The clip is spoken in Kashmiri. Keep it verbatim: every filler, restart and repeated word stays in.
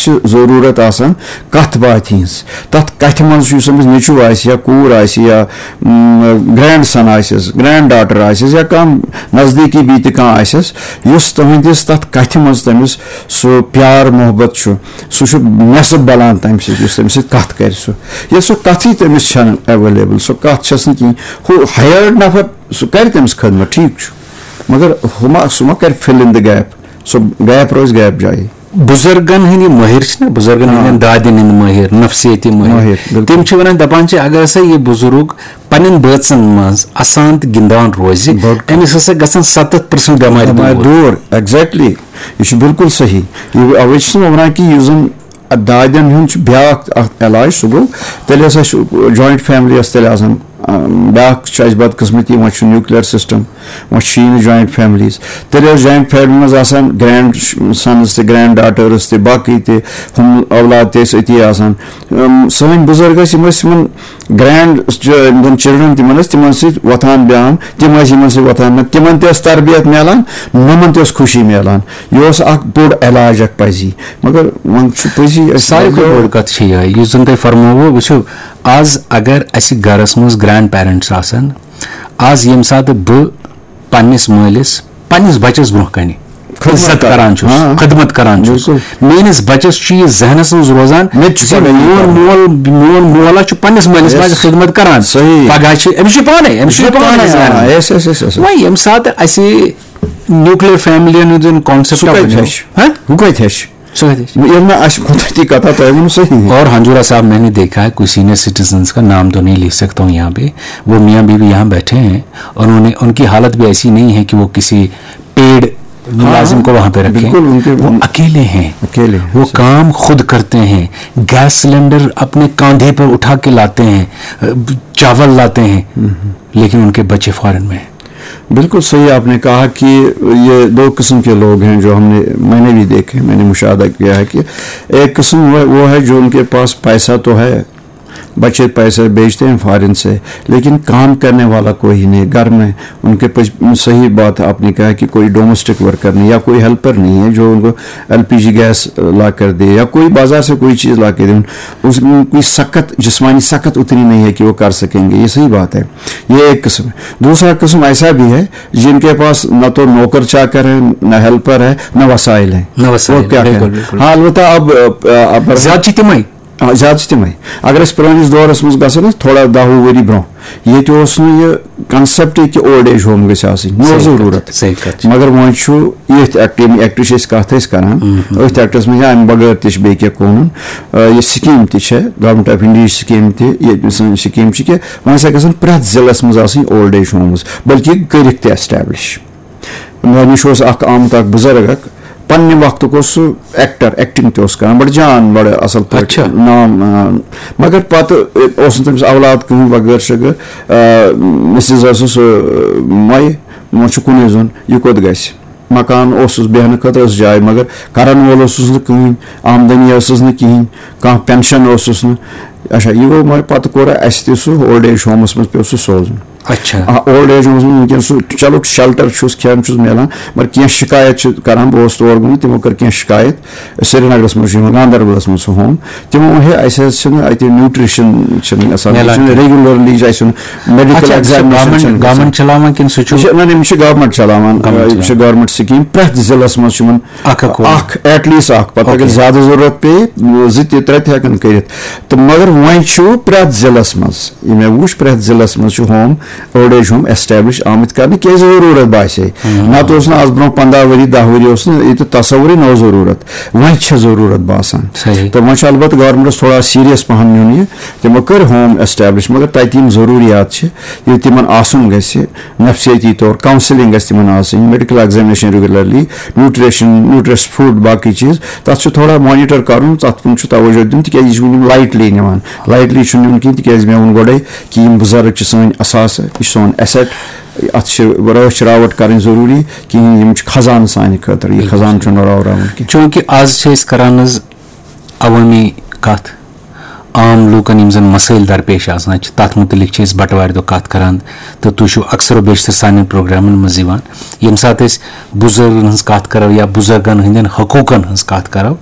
چھِ ضروٗرت آسان کَتھ باتھِ ہِنٛز۔ تَتھ کَتھِ منٛز چھُ یُس أمِس نیٚچوٗ آسہِ یا کوٗر آسہِ یا، م، گرینڈ سن آسٮ۪س، گرینڈ ڈاٹر آسٮ۪س یا کانٛہہ نزدیٖکی بیٚیہِ تہِ کانٛہہ آسٮ۪س، یُس تُہٕنٛدِس تَتھ کَتھِ منٛز تٔمِس سُہ پیار محبت چھُ، سُہ چھُ نٮ۪صٕب بَلان تَمہِ سۭتۍ، یُس تٔمِس سۭتۍ کَتھ کَرِ سُہ۔ ییٚلہِ سُہ کَتھٕے تٔمِس چھَنہٕ ایویلیبل، سُہ کَتھ چھَس نہٕ کِہیٖنۍ۔ ہُہ ہایٲرڈ نفر، سُہ کَرِ تٔمِس خدمت، ٹھیٖک چھُ، مگر ہُہ ما، سُہ ما کَرِ فِل اِن دِ گیپ؟ سُہ گیپ روزِ گیپ جایہِ۔ بُزرگن ہٕنٛدۍ مٲہِر چھِنہ، بُزرگن آ۔ ہٕنٛدٮ۪ن دادٮ۪ن ہٕنٛدۍ مٲہِر، نفسیٲتی مٲہِر۔ مٲہِر، بِلکُل۔ تِم چھِ وَنان، دَپان چھِ، اگر ہسا یہِ بُزرگ پننٮ۪ن بٲژن منٛز اَسان تہٕ گِنٛدان روزِ، بِلکُل۔ أمِس ہسا گژھن ستتھ پٔرسنٹ بٮ۪مارِ بٮ۪مارِ دوٗر۔ دوٗر، exactly۔ یہِ چھُ بِلکُل صحیح۔ یہِ، اَوَے چھُس بہٕ وَنان کہِ یُس زَن دادٮ۪ن ہُنٛد چھُ بیٛاکھ اَکھ علاج، سُہ گوٚو، تیٚلہِ ہسا چھُ جویِنٹ فیملی ٲس تیٚلہِ آسان، آ، بیٛاکھ چھُ اَسہِ بدقٕسمتی، وۄنۍ چھُ نیوٗکلیر سِسٹَم، وۄنۍ چھُ یی نہٕ جویِنٹ فیملیٖز۔ تیٚلہِ ٲس جویِنٹ فیملی منٛز آسان گرینڈ سنٕز تہِ، گرینڈ ڈاٹٲرٕز تہِ، باقٕے تہِ، ہُم اولاد تہِ ٲسۍ أتی آسان۔ أم، سٲنۍ بُزرگ ٲسۍ، یِم ٲسۍ یِمَن گرینڈ چ-، یِم زَن چِلڈرن تِمَن ٲسۍ تِمَن سۭتۍ وۄتھان بیٚہوان، تِم ٲسۍ یِمَن سۭتۍ وۄتھان بیٚہوان، تِمَن تہِ ٲس تربیت میلان، نۄمَن تہِ ٲس خوشی میلان۔ یہِ اوس اَکھ بوٚڑ علاج اَکھ پَزی۔ مگر وۄنۍ چھُ پٔزی أسۍ ساروی کھۄتہٕ بوٚڑ کَتھ چھِ یِہوٚے، یُس زَن تۄہہِ فرمووُ، وٕچھِو، آز اگر اَسہِ گَرَس منٛز گرینڈ پیرنٹس آسَن، آز ییٚمہِ ساتہٕ بہٕ پننِس مٲلِس پننِس بَچَس برونٛہہ کَنہِ خدمت عزت کَران۔ کَران چھُس، ہاں۔ خدمت کَران چھُس، بِلکُل۔ میٲنِس بَچَس چھُ یہِ ذہنَس منٛز روزان مےٚ تہِ چھُ زِ پَگاہ یہِ میون کَرُن۔ مول، میون مول ہا چھُ پننِس مٲلِس یَس۔ ماجہِ خدمت کَران۔ صحیح۔ پَگاہ چھِ أمِس چھُ پانَے، أمِس چھُ یہِ پانَے پانَے، ذہنَس ہاں، منٛز۔ یَس، یَس، یَس، یَس۔ وۄنۍ ییٚمہِ ساتہٕ اَسہِ نیوٗکلیر فیملی ہُنٛد یُن concept سُہ کَتہِ بَنیو۔ ہیٚچھِ؟ ہاں؟ ہُہ کَتہِ ہیٚچھِ؟ سُہ کَتہِ ہیٚچھِ؟ ییٚلہِ نہٕ اَسہِ قۄدرٔتی کَتھا تۄہہِ ووٚنوُ صحیح۔ اور ہنجورا صاحب، میں نے دیکھا ہے، کچھ سینئر سٹیزنز کا نام تو نہیں لے سکتا ہوں یہاں پہ، وہ میاں بیوی یہاں بیٹھے ہیں، انہوں نے، ان کی حالت بھی ایسی نہیں ہے کہ وہ کسی پیڈ ملازم کو وہاں پہ رکھیں۔ بالکل، ان کے وہ اکیلے ہیں، اکیلے ہیں، وہ صحیح۔ کام خود کرتے ہیں، گیس سلنڈر اپنے کاندھے پر اٹھا کے لاتے ہیں، چاول لاتے ہیں، لیکن ان کے بچے فارن میں ہیں۔ بالکل صحیح آپ نے کہا کہ یہ دو قسم کے لوگ ہیں جو ہم نے، میں نے بھی دیکھے، میں نے مشاہدہ کیا ہے کہ ایک قسم وہ، وہ ہے جو ان کے پاس پیسہ تو ہے، بچے پیسے بھیجتے ہیں فارن سے، لیکن کام کرنے والا کوئی نہیں گھر میں۔ ان کے پاس، صحیح بات آپ نے کہا کہ کوئی ڈومیسٹک ورکر نہیں یا کوئی ہیلپر نہیں ہے جو ان کو ایل پی جی گیس لا کر دے یا کوئی بازار سے کوئی چیز لا کے دے۔ اس کی سخت، جسمانی سخت اتنی نہیں ہے کہ وہ کر سکیں گے، یہ صحیح بات ہے۔ یہ ایک قسم ہے۔ دوسرا قسم ایسا بھی ہے جن کے پاس نہ تو نوکر چاکر ہے، نہ ہیلپر ہے، نہ وسائل ہیں۔ نہ وسائل، اور کیا بالکل، کریں؟ بالکل۔ ہاں، البتہ اب، اب، اب زیادٕ چھِ تِمے۔ آ، زیادٕ چھِ تِمے۔ اگر أسۍ پرٛٲنِس دورس منٛز گژھو نا، تھوڑا دَہ وُہ ؤری برٛونٛہہ، ییٚتہِ اوس نہٕ یہِ concept کہِ اولڈ ایج ہوم گژھِ آسٕنۍ، نہ اوس صحیح کَتھ، ضروٗرت۔ صحیح کَتھ چھِ۔ مگر وۄنۍ چھُ ییٚتھۍ ایکٹ، ییٚمہِ ایکٹٕچ أسۍ کَتھ ٲسۍ کران، أتھۍ ایکٹس منٛز یا اَمہِ بغٲر تہِ چھِ بیٚیہِ کینٛہہ قونوٗن، آ، یہِ سکیٖم تہِ چھےٚ، گورنمنٹ آف انڈیاہٕچ سکیٖم تہِ، ییٚتہِ سٲنۍ سکیٖم چھِ کہِ وۄنۍ ہسا گژھن پرٛٮ۪تھ ضلعس منٛز آسٕنۍ اولڈ ایج ہومٕز، بلکہِ کٔرِکھ تہِ ایسٹیبلش۔ مےٚ نِش اوس اکھ آمُت، اکھ بُزرگ اکھ، پننہِ وقتُک اوس سُہ ایکٹر، ایکٹنگ تہِ اوس کران، بڑٕ جان، بڑٕ اصل پٲٹھۍ اچھا۔ نام، آ، مگر پتہٕ اوس نہٕ تٔمِس اولاد کٕہٕنۍ، وغٲر شغٲر۔ آ، مسز ٲسٕس، آ، مۄیہِ، وۄنۍ چھُ کُنُے زوٚن، یہِ کوٚت گژھِ؟ مکان اوسُس بیہنہٕ خٲطرٕ، ٲس جاے، مگر کرن وول اوسُس نہٕ کٕہٕنۍ، آمدنی ٲسٕس نہٕ کِہیٖنۍ، کانٛہہ پینشن اوسُس نہٕ۔ اچھا، یہِ گوٚو، مگر پتہٕ کوٚر اسہِ تہِ سُہ اولڈ ایج ہومس منٛز، پیوٚو سُہ سوزُن۔ اچھا۔ آ، اولڈ ایج ہومس منٛز وٕنکیٚن سُہ، چلو، شیلٹر چھُس، کھٮ۪ن چھُس میلان، مگر کینٛہہ شکایت چھِ کران۔ بہٕ اوسُس تور گوٚمُت، تِمو کٔر کینٛہہ شکایت۔ سرینگرس منٛز چھُ یِوان، گاندربلس منٛز چھُ ہوم۔ تِمو ووٚن، ہے، اسہِ حظ چھِنہٕ اتہِ نیوٗٹریشن چھِنہٕ آسان، یہِ میلان چھُنہٕ کینٛہہ۔ ریگولرلی چھُ اسہِ یُن، میڈیکل اچھا، سُہ ایگزامینیشن گورنمنٹ، چھِنہٕ گورنمنٹ گژھان۔ چلاوان کِنہٕ سُہ چھُ یہِ چھِ، نہ، نہ، یِم چھِ گورنمنٹ چلاوان۔ گورنمنٹ آ، یہِ چھِ چلاوان۔ Government scheme. پرٛٮ۪تھ ضلعس منٛز چھُ یِمن اکھ اکھ ہوم۔ اکھ، ایٹ لیسٹ اکھ۔ پتہٕ اگر اوکے۔ زیادٕ ضروٗرت پیٚیہِ، زٕ تہِ، ترٛےٚ تہِ ہٮ۪کن کٔرِتھ۔ تہٕ مگر وۄنۍ چھُ پرٛٮ۪تھ ضلعس منٛز، یہِ مےٚ وٕچھ، پرٛٮ۪تھ ضلعس منٛز چھُ home, old age home establish آمٕتۍ کرنہٕ، کیازِ ضروٗرت باسے۔ ہم۔ نتہٕ اوس نہٕ از برونٛہہ پنٛداہ ؤری، دَہ ؤری اوس نہٕ ییٚتہِ تصورٕے نوٚو ضروٗرت۔ وۄنۍ چھِ ضروٗرت باسان۔ صحیح۔ تہٕ وۄنۍ چھُ البتہ گورنمنٹس تھوڑا سیریس پہن نیُن یہِ۔ تِمو کٔر ہوم ایسٹیبلش، مگر تتہِ یِم ضروٗریات چھِ، ییٚلہِ تِمن آسُن گژھِ، نفسیٲتی طور کاؤنسلنگ گژھِ تِمن آسٕنۍ، medical examination regularly, nutrition, نیوٗٹریس food, باقٕے چیٖز، تتھ چھُ تھوڑا مانیٹر کرُن، تتھ کُن چھُ توجہ دیُن، تِکیازِ یہِ چھُ وٕنہِ یِم لایٹلی نِوان۔ لایٹلی چھُنہٕ نیُن کِہیٖنۍ، تِکیازِ مےٚ ووٚن گۄڈے کہِ یِم بُزرگ چھِ سٲنۍ اثاثہٕ، یہِ چھُ سون ایسٹ، اتھ چھِ رٲچھ راوٹ کرٕنۍ ضروٗری، کِہیٖنۍ، یِم چھِ خزانہٕ سانہِ خٲطرٕ، یہِ خزانہٕ چھُنہٕ راوراوُن کینٛہہ۔ چوٗنٛکہِ آز چھِ أسۍ کران حظ عوٲمی کتھ، عام لوٗکن یِم زن مسٲیل درپیش آسان چھِ، تتھ مُتعلق چھِ أسۍ بٹوارِ دۄہ کتھ کران، تہٕ تُہۍ چھِو اکثر و بیشتر سانٮ۪ن پروگرامن منٛز یِوان۔ ییٚمہِ ساتہٕ أسۍ بُزرگن ہٕنٛز کتھ کرو یا بُزرگن ہٕنٛدٮ۪ن حقوٗقن ہٕنٛز کتھ کرو،